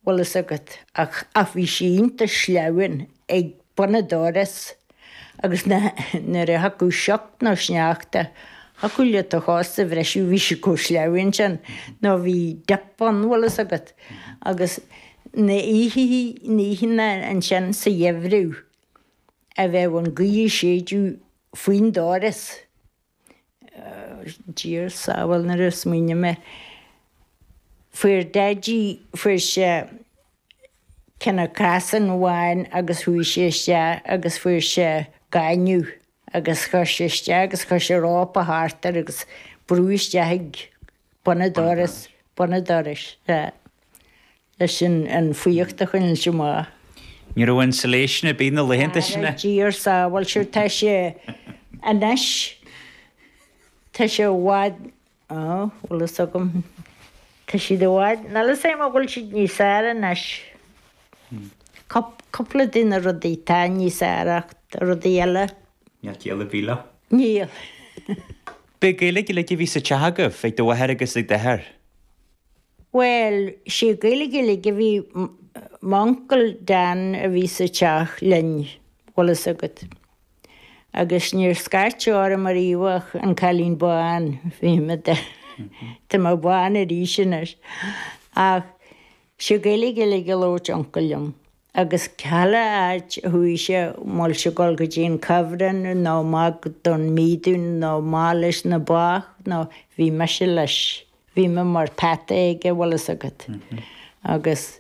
Bhfuil fhios agat, ach, ach bhí sí iontach sleamhain ag bun an doras agus na, nuair a thiocfadh sioc nó sneachta, thiocfadh leat do chos a bhriseadh, bhí sí chomh sleamhain sin, nó bhí dip ann, bhfuil fhios agat. Agus na oíche, na oícheanna ansin sa gheimhreadh a bheadh an ghaoth ag séideadh faoin doras, Dia ár sábháil nuair a smaoiním air. Fuair Daidí, fuair sé cineál crosán amháin agus chuaigh sé isteach agus fuair sé gaineamh agus chuir sé isteach agus chuir sé rópa thart air agus brúdh isteach ag bun an doras, bun an dorais, sea. leis an fuíocht a choinneáilt amach. Ní raibh insulation ar bith na laethanta sin. Ara Dia ár sábháil, sure tá sé anois, tá sé i bhfad, á, bhfuil fhios agam, tá siad i bhfad, níl fhios agam an bhfuil siad níos fearr anois. Cúpla de na rudaí tá níos fearr ach tá rudaí eile. Níl ciall ar bith leo. Níl. B'é Gaeilge uilig a bhí sa teach agaibh, ag do mháthair agus ag d'athair? Bhuel, sé Gaeilge uilig a bhí, m'uncail Dan a bhí sa teach linn, bhfuil fhios agat. Agus níor scairteadh orm ariamh ach an cailín bán, bhí mé, tá mé bán arís anois. Ach sé Gaeilge uilig a labhairt uncail liom. Agus chuile áit a chuaigh sé, an bhfuil sé ag dul go dtí an cuibhreann nó amach don mídún nó amach leis na ba nó bhí mise leis. Bhí mé mar peata aige, bhfuil fhios agat. Agus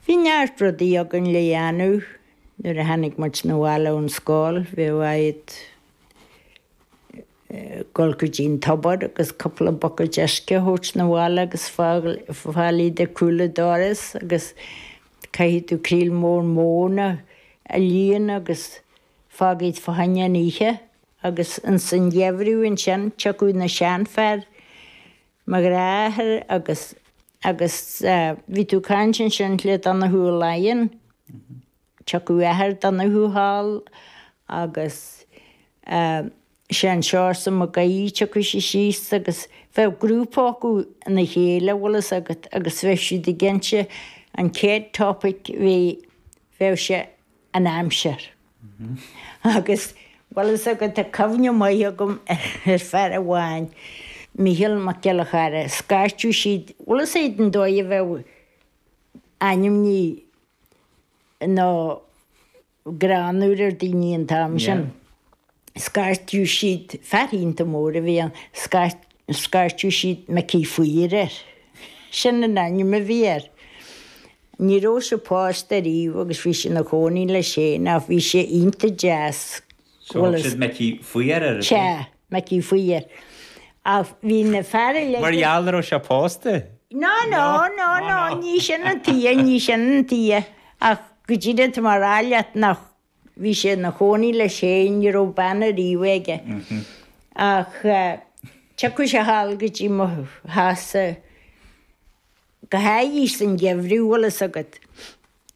bhí neart rudaí againn le dhéanamh nuair a tháinig muid 'na bhaile ón scoil, bheadh agat dul go dtí an tobar agus cúpla buicéid uisce a thabhairt 'na bhaile agus fáil iad ag cúl an doras agus caithfidh tú creel mór móna a líonadh agus fág iad fá choinne an oíche agus ins an gheimhreadh ansin tiocfadh na seanfhear mo dheartháir agus agus bhí tú ag caint ansin le Donnchadh Ó Laighin. Tiocfadh athair Donnchadh thall agus sé an Seosamh Mac Aoidh, tiocfadh sé síos agus bheadh grúpa acu ina chéile, bhfuil fhios agat, agus bheadh siad ag inse an chéad topic bhí, bheadh sé an aimsir. Agus bhfuil fhios agat, tá cuimhne maith agam ar fear amháin, Mícheál Mac Giolla Chara, scairteadh siad, bhfuil fhios agat an dóigh a bheadh ainmní nó greannmhar ar daoine an t-am sin. Scairteadh siad, fear iontach mór a bhí ann, scairteadh siad Micí Faoir air. Sin an ainm a bhí air. Ní raibh sé pósta ariamh agus bhí sé ina chónaí leis féin ach bhí sé iontach deas. So thug siad Micí Faoir air, ab é? Sea, Micí Faoir. Ach bhí na fear uilig. Mar gheall nach raibh sé pósta? No, no, no, no, ní sin an tuige, ní sin an tuige. Ach go díreach tá mé a rá leat nach, bhí sé ina chónaí leis féin, ní raibh bean ariamh aige. Ach tiocfadh sé thall go dtí mo theachsa go háirithe san gheimhreadh, bhfuil fhios agat.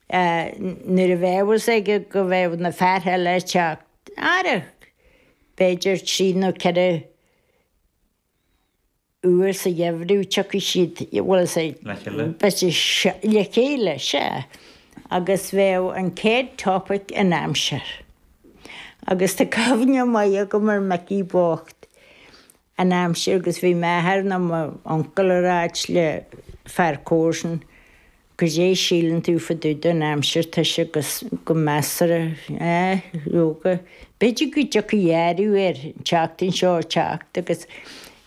Nuair a bheadh fhios aige go bheadh na fear eile ag teacht, ara, b'fhéidir trí nó 4 uair sa gheimhreadh, tiocfaidh siad, bhfuil fhios a'd, Le chéile. b'fhéidir, le chéile, sea. Agus bheadh an chéad topic an aimsir. Agus tá cuimhne maith agam ar Micí bocht, an aimsir agus bhí m'athair nó m'uncail a ráit le fear comharsan goidé síleann tú fá dtaobh den aimsir tá sé go go measartha eh leoga b'fhéidir go dtiocfaidh athrú air an tseachtain seo ag teacht agus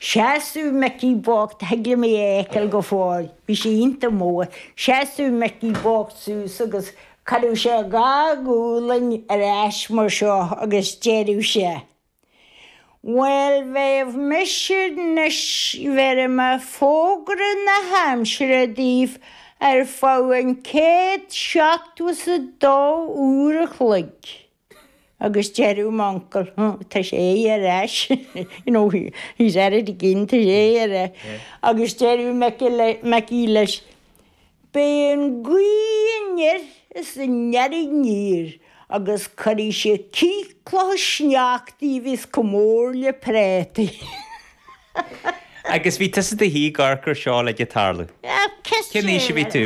sheasadh Micí bocht thig liom é a fheiceáil go fóill bhí sé iontach mór sheasadh Micí bocht suas agus chuireadh sé a dhá ghualainn ar ais mar seo agus deireadh sé Bhuel, bheadh mise anois, bhéarfaidh mé fógra na haimsire daoibh ar feadh an chéad 72 uair a chloig. Agus deireadh m'uncail, tá sé ar ais, you know, he's at it again, tá sé ar ais. Agus deireadh Micí leis, Beidh an ghaoth anoir is an near aniar agus cuirfidh sé cith clocha sneachtaí a bhíos chomh mór le préataí. Agus bhí tusa i do shuí ag amharc ar seo uilig ag tarlú. Cén aois a bhí tú?